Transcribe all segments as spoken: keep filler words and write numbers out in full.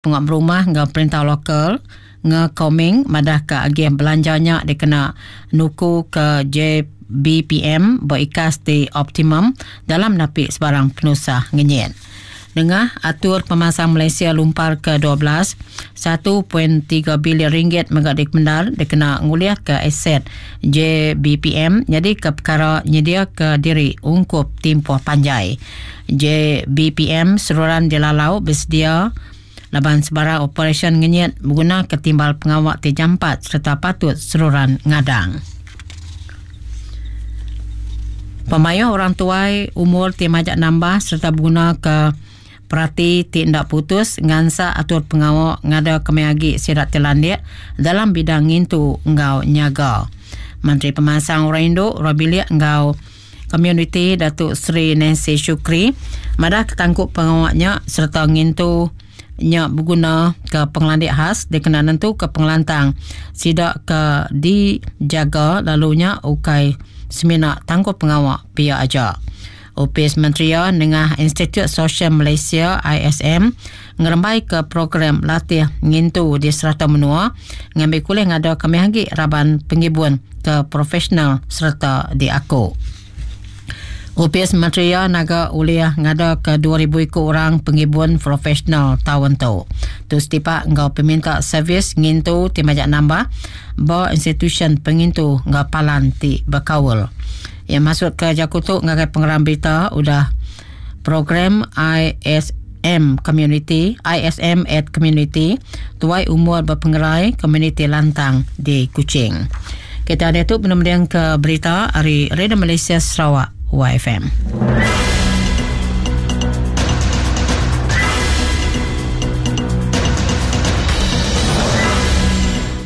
Pengap rumah ngau perintah lokal ngekoming madah ke agian belanjanya dikena nuku ke J B P M berikas di optimum dalam napi sebarang penusah ngenyit. Dengar atur pemasang Malaysia lumpar ke dua belas, satu perpuluhan tiga bilion ringgit megak dikemendar dikena nguliah ke aset J B P M jadi ke perkara nyedia ke diri ungkup tempoh panjai. J B P M seruran dilalau bersedia laban sebarang operasi ngenyit guna ketimbal pengawak ti jampat serta patut seruran ngadang. Pemayu orang tuai umur ti majak nambah serta guna ke perati ti ndak putus ngansa atur pengawak ngada kemiagi sirat telandik dalam bidang ngintu ngau nyaga. Menteri Pemasang Orang Induk Robiliak ngau Community Datuk Seri Nancy Shukri madah ketangkup pengawaknya serta ngintu nya berguna ke pengelandik khas dikena nentu ke pengelantang sidak ke dijaga lalunya ukai semina tangkup pengawak pia aja. Opis Menteri dengan Institut Sosial Malaysia I S M ngerembai ke program latih ngintu di serata menua ngambil kuliah ngada kami hagi raban pengibun ke profesional serta diaku. Opis Menteri naga uliah ngada ke dua ribu ikut orang pengibun profesional tahun tu. Tu setipak ngau peminta servis ngintu ti majak nambah ba institution pengintu ngau palan ti berkawal. Yang masuk ke Jakutuk ngagai pengeram berita udah program I S M Community I S M at Community tuai umur berpengerai Community Lantang di Kuching. Kita ada tu penemuan ke berita hari Radio Malaysia Sarawak Y F M.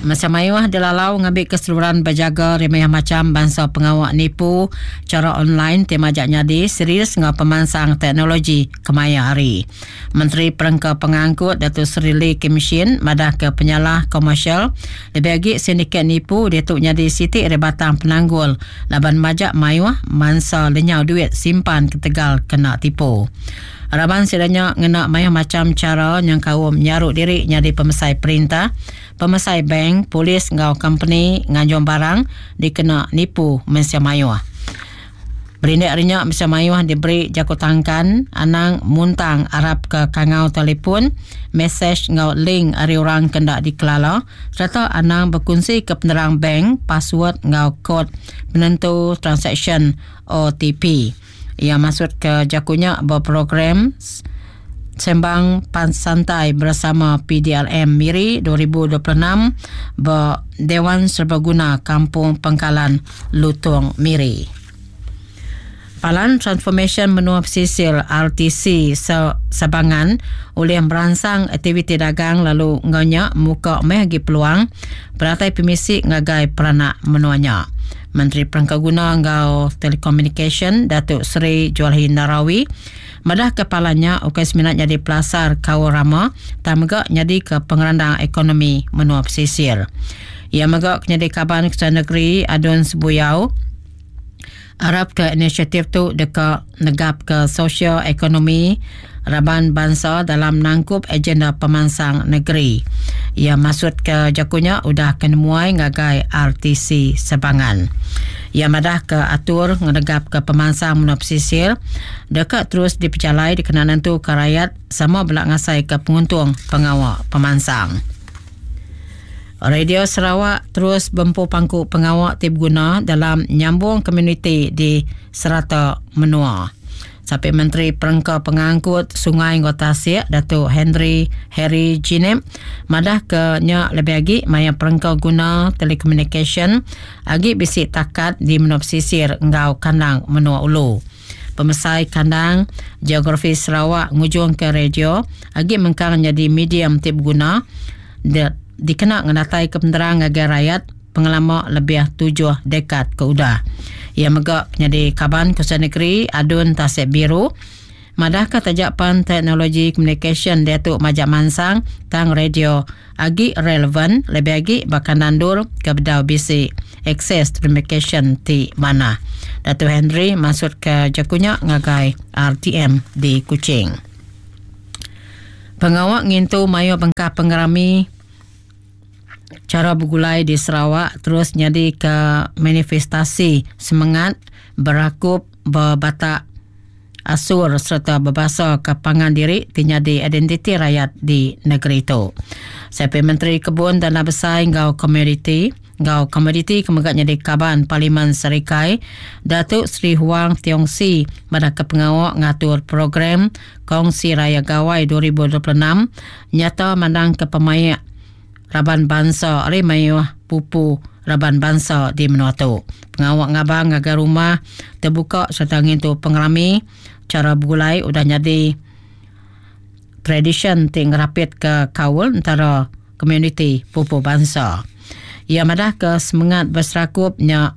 Masa mayuh dilalau ngambil keseluruhan berjaga remeh macam bangsa pengawak nipu cara online tema jak nyadi serius ngau pemansang teknologi kemaya hari. Menteri Perengka Pengangkut Datuk Seri Lee Kim Shin madah ke penyalah komersial lebih lagi sindiket nipu dia tu nyadi sitik rebatang penanggul laban majak mayuh mansa lenyau duit simpan ketegal kena tipu. Raban sidanya ngena mayuh macam cara yang kaum nyaruk diri nyadi pemesai perintah, pemesai bank, polis ngau company nganjung barang dikena nipu mensia mayuh. Berindik rinyak mensia mayuh diberi jaku tangkan anang muntang Arab ke kangau telefon, mesej ngau link ari orang kendak dikelala serta anang berkongsi ke penerang bank, password ngau kod penentu transaction O T P. Ia masuk ke jakunya berprogram Sembang Pan Santai bersama P D L M Miri dua ribu dua puluh enam ber Dewan Serbaguna Kampung Pengkalan Lutong Miri. Palan Transformation Menua Pesisir R T C Sabangan oleh merangsang aktiviti dagang lalu nganyak muka meh agi peluang peratai pemisik ngagai peranak menuanya. Menteri Perengkaguna ngau Telekomunikasi Datuk Seri Julaihi Narawi madah kepalanya ukai seminat jadi pelasar kawarama tamga jadi ke pengerandang ekonomi menua pesisir. Ia megak jadi kaban Ketua Negeri Adun Sebuyau Arab ke inisiatif tu dekat negap ke sosial ekonomi raban bangsa dalam nangkup agenda pemansang negeri. Ia masuk ke jakunya udah kenemuai ngagai R T C Sebangan. Ia madah ke atur ngenegap ke pemansang menua pesisir dekat terus diperjalai dikenanan tu ke rakyat sama belak ngasai ke penguntung pengawak pemansang. Radio Sarawak terus bempu pangku pengawak ti berguna dalam nyambung komuniti di serata menua. Sampai Menteri Perengka Pengangkut Sungai Ngau Tasik Datuk Henry Harry Jinep madah ke nya lebih agi maya perengka guna telekomunikasi agi bisi takat di menua pesisir ngau kandang menua ulu. Pemesai kandang geografi Sarawak ngujung ke radio agi mengkang jadi medium ti berguna di, dikena ngenatai ke penerang ngagai rakyat pengelama lebih tujuh dekad ke udah. Ia megak jadi kaban Kuasa Negeri Adun Tasik Biru madah ke tajapan teknologi communication dia tu majak mansang tang radio agi relevan lebih agi bahkan nandur ke bedau bisi akses communication ti mana. Datuk Henry masuk ke jakunya ngagai R T M di Kuching. Pengawak ngintu mayo bengkah pengerami cara bergulai di Sarawak terus nyadi ke manifestasi semangat berakup berbatak asur serta berbahasa ke pangan diri ti nyadi identiti rakyat di negeri itu. Siapa Menteri Kebun Dana Besar ngau Komoditi ngau Komoditi kemegak nyadi kaban Parlimen Serikai Datuk Seri Huang Tiong Sii pada ke pengawak ngatur program Kongsi Raya Gawai dua ribu dua puluh enam nyata mandang ke pemayak raban bangsa ari mayuh pupu raban bangsa di menua tu. Pengawak ngabang ngagai rumah terbuka serta ngintu pengerami cara bergulai udah jadi tradition ti ngerapit ke kaul antara komuniti pupu bangsa. Ia madah ke semangat berserakupnya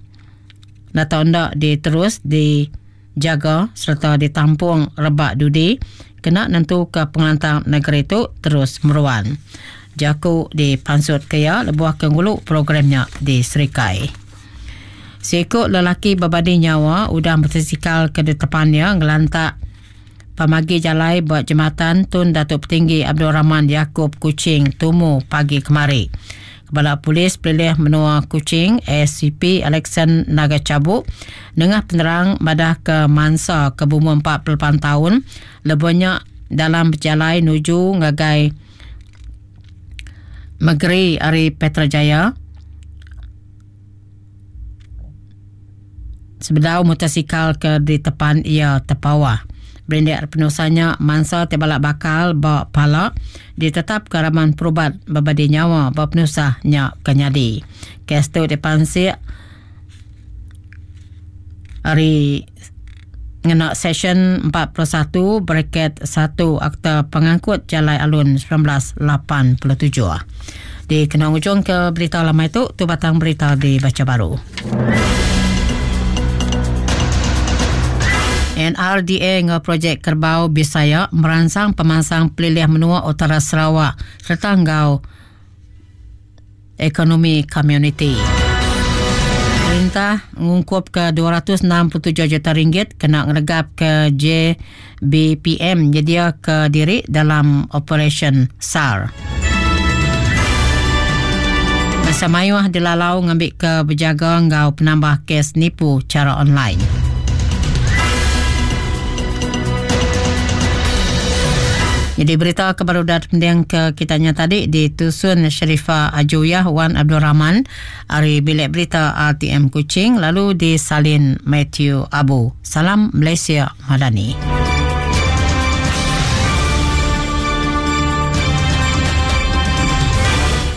natau ndak diterus dijaga serta ditampung rebak dudi kena nentu ke pengelantang negeri tu terus meruan. Jaku di pansut kaya lebuah ke ngulu programnya di Serikai. Seikut lelaki berbadi nyawa udah motosikal ke depannya ngelantak pamagi jalai buat jembatan Tun Datuk Petinggi Abdul Rahman Yaakob Kuching tumu pagi kemari. Kepala Polis Pelilih Menua Kuching S C P Alexan Naga Cabuk nengah penerang madah ke mansa ke berumur empat puluh lapan tahun lebuhnya dalam berjalai nuju ngagai Negeri Ari Petrajaya sebedau motosikal ke di tepan ia terpawah. Berindek penusahnya mansa terbalak bakal ba pala ditetap ke raman perubat berbadi nyawa ba penusahnya kenyadi. Kes tu dipansik hari ngena session empat puluh satu bracket satu Akta Pengangkut Jalai Alun sembilan belas lapan puluh tujuh. Di kena ujung ke berita lama itu, tu batang berita dibaca baru. N R D A ngau projek Kerbau Bisaya merangsang pemansang pelilih menua Utara Sarawak serta ngau ekonomi komuniti. Perintah ngungkup ke dua ratus enam puluh tujuh juta ringgit kena ngeregap ke J B P M nyedia ke diri dalam operasi S A R. Masa mayuh dilalau ngambil ke berjaga ngau penambah kes nipu cara online. Jadi berita kebarudan pending ke kitanya tadi ditusun Sharifah Ajuyah Wan Abdul Rahman ari bilik berita R T M Kuching lalu disalin Matthew Abu. Salam Malaysia Madani.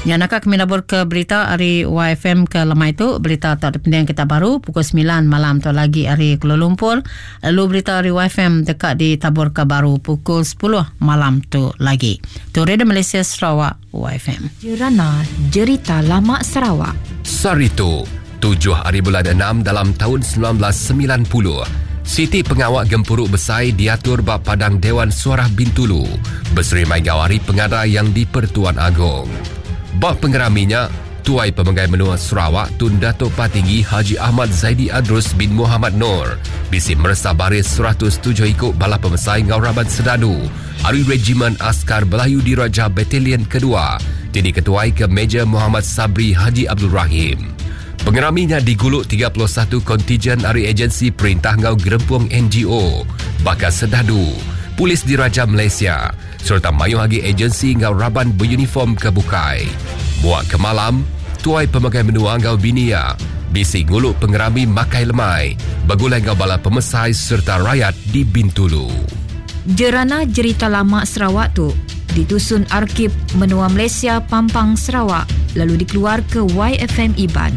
Ya, nak kami labur ke berita hari Y F M ke lemai tu. Berita tak depending kita baru pukul sembilan malam tu lagi hari Kuala Lumpur. Lalu berita hari Y F M dekat di tabur ke baru pukul sepuluh malam tu lagi. Tu Radio Malaysia Sarawak Y F M. Jerana Jerita Lama Sarawak. Saritu, tujuh hari bulan enam dalam tahun sembilan belas sembilan puluh. Siti pengawak gempuruk besai diatur bab Padang Dewan Suarah Bintulu. Berseri Maigawari pengada yang di Pertuan Agong. Bab pengeraminya, Tuai Pemegai Menua Sarawak Tun Datuk Patinggi Haji Ahmad Zaidi Adrus bin Muhammad Noor bisi meresa baris seratus tujuh ikut bala pemesai Ngau Raban Sedadu Ari Regimen Askar Belayu Diraja Batalion Kedua Tini Ketuai ke Major Muhammad Sabri Haji Abdul Rahim. Pengeraminya diguluk tiga puluh satu kontijen ari agensi perintah Ngau Gerempung N G O, Bakar Sedadu, Polis Diraja Malaysia serta mayuh lagi agensi ngau raban beruniform ke bukai. Buat ke malam, Tuai Pemagai Menua ngau Binia, bisi nguluk pengerami makai lemai, bagulai ngau bala pemesai serta rakyat di Bintulu. Jerana Jerita Lama Sarawak tu ditusun Arkib Menua Malaysia Pampang Sarawak lalu dikeluar ke Y F M Iban.